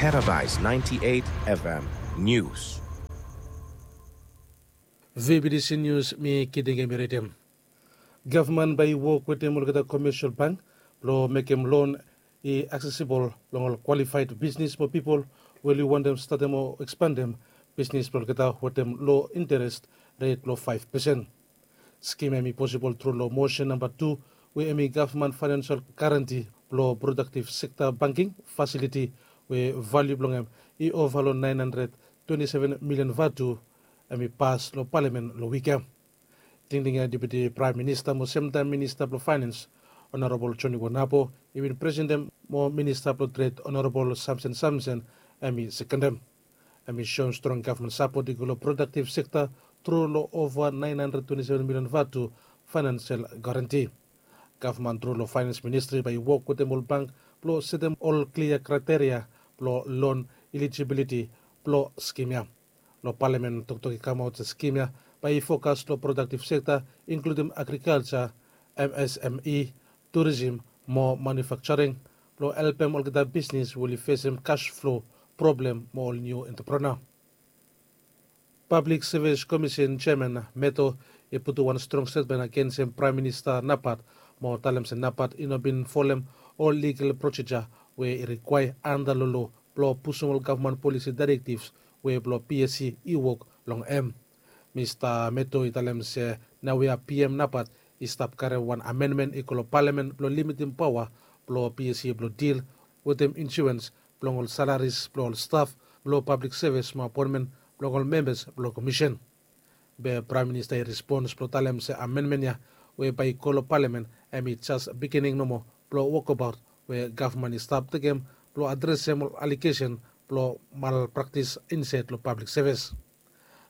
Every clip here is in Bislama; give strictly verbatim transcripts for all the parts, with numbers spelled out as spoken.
Paradise ninety-eight F M News. V B D C News, mi Kiding Emiritim. Gavman bae i wok wetem olgeta komesial bank blong mekem lon i aksesibol long ol kwalifaed bisnis mo pipol we oli wantem statem o ekspandem bisnis blong olgeta wetem lo interes ret blong faef pesen. Skim ya hemi posibol tru long mosen namba tu we hemi gavman faenensel garanti blong prodaktiv sekta banking fasiliti we valiu blong hem i ova long naen handred twenti seven milian vatu. Hemi pas long palamen long wik ya. Tingting ya Deputi Praem Minista mo semtaem Minista blong Faenens, Honorabol Joni Wonapo, i bin presentem, mo Minista blong Tred, Honorabol Samson Samson, hemi sekendem. Hemi soem strong gavman sapot i go long prodaktiv sekta tru long ova naen handred twenti seven milian vatu faenensel garanti. Gavman tru long Faenens Ministri bae i wok wetem ol bank blong setem ol klia kraeteria blong lon ilijibiliti blong skim ya. Long palamen toktok i kamaot se skim ya bae i fokas long prodaktiv sekta, inkludim agrikalja, M S M E, turism mo manufakjaring, blong helpem olgeta bisnis we oli fesem kas flo problem mo ol niu entreprenua. Pablik Sevis Komisen jeaman Meto i putum wan strong stetmen agensem Praem Minista Napat mo talem se Napat i no bin folem ol ligal proseja we i rikwaea anda long lo blong pusum ol gavman polisi daerektivs we blong P S C i wok long hem. Mista Meto i talem se naoia P M Napat i stap karem wan amenmen i go long palamen blong limitim paoa blong P S C blong dil wetem insurens blong ol salaris blong ol staf blong pablik sevis mo apoenmen blong ol membas blong komisen. Be Praem Minista i respons blong talem se amenmen ya we bae i go long palamen hemi jes bigining nomo blong wokbaot we gavman i stap tekem blong adresem ol alegesen blong malpraktis insaed long pablik sevis.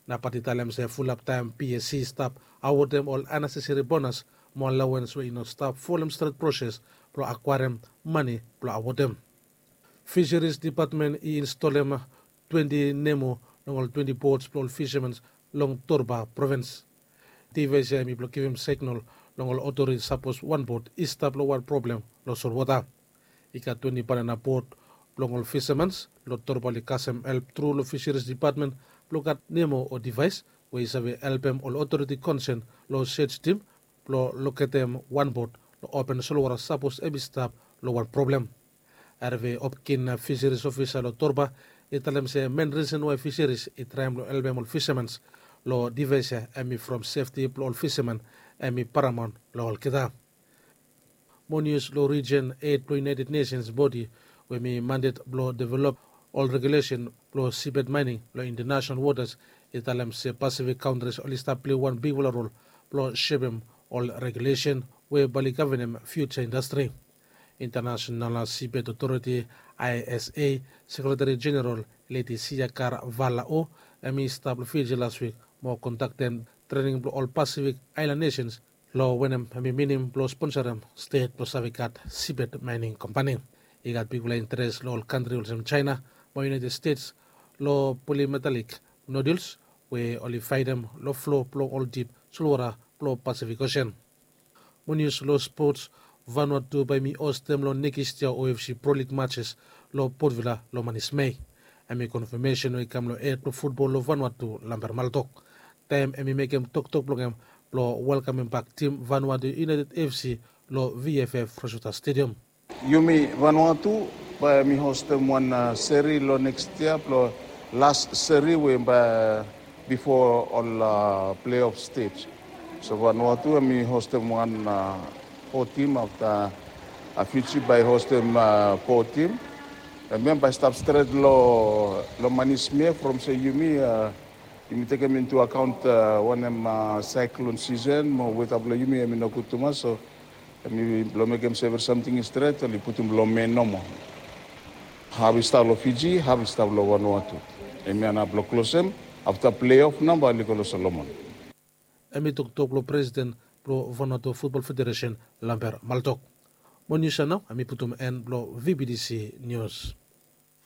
Napat i talem se fulap taem P S C i stap awodem ol aneseseri bonas mo alawens we i no stap folem stret proses blong akwaerem mane blong awodem. Fiseris Dipatmen i instolem twenti nemo long ol twenti bots blong ol fisamen long Torba provins. Divaes ya hemi blong givim signal long ol otoriti sapos wan bot i stap long wan problem long solwota. I gat twenti banana bot blong ol fisamen long Torba oli kasem help tru long Fiseris Dipatmen blong gat nemo o divaes we i save helpem ol otoriti konsen long sej tim blong loketem wan bot long open solwota sapos hemi stap long wan problem. Herve Hopkin, Fiseris ofisa long Torba, i talem se men risen wae Fiseris i traem long helpem ol fisamen long divaes ya hemi from sefti blong ol fisamen hemi paramaon long olgeta. Mo nius long rijen, hed blong United Nations bodi we hemi mandet blong develop ol regulesen blong sibed maening long intanasenal wotas i talem se Pasifik kantris oli stap plei wan bigfala rol blong sepem ol regulesen we bae oli gavenem fiuja indastri. Intanasenal Sibed Otoriti, I S A, Sekretari Jeneral Leti Siakar Valao hemi stap long Fiji laswik mo kondaktem trening blong ol Pasifik aelan nesens long wanem hemi minim blong sponsorem stet blong save gat sibed maening kompani. I gat bigfala interes long ol kantri olsem Jaena mo United States long polimetalik noduls we oli faedem long flo blong ol dip solwota blong Pasifik Osen. Mo nius long spots, Vanuatu bae hemi hostem long nekis yia O F C Pro League matches long Port Vila long manis Mei. Hemi konfamesen we i kam long hed blong futbol long Vanuatu, Lambert Maltok. Taem hemi mekem toktok blong hem blong welkamem bak tim Vanuatu United F C long V F F Rosewater Stadium. Yumi Vanuatu bae hemi hostem wan seri long nekis yia blong las seri we bae bifo ol pleiof stej. So Vanuatu hemi hostem wan fo tim afta Fiji bae hostem fo tim. Hemia bae stap stret long manis Mei from se yumi yumi tekem intu akaont wanem saeklon sisen mo weta blong yumi hemi no gud tumas, so hemi blong mekem se evri samting i stret oli putum long Mei nomo. Haf i stap long Fiji, haf i stap long Vanuatu. Hemia nao blong klosem afta pleiof nao bae oli go long Solomon. Hemi toktok blong presiden blong Vanuatu Futbol Federesen, Lambert Maltok. Mo nius ya nao hemi putum en blong V B D C Nius.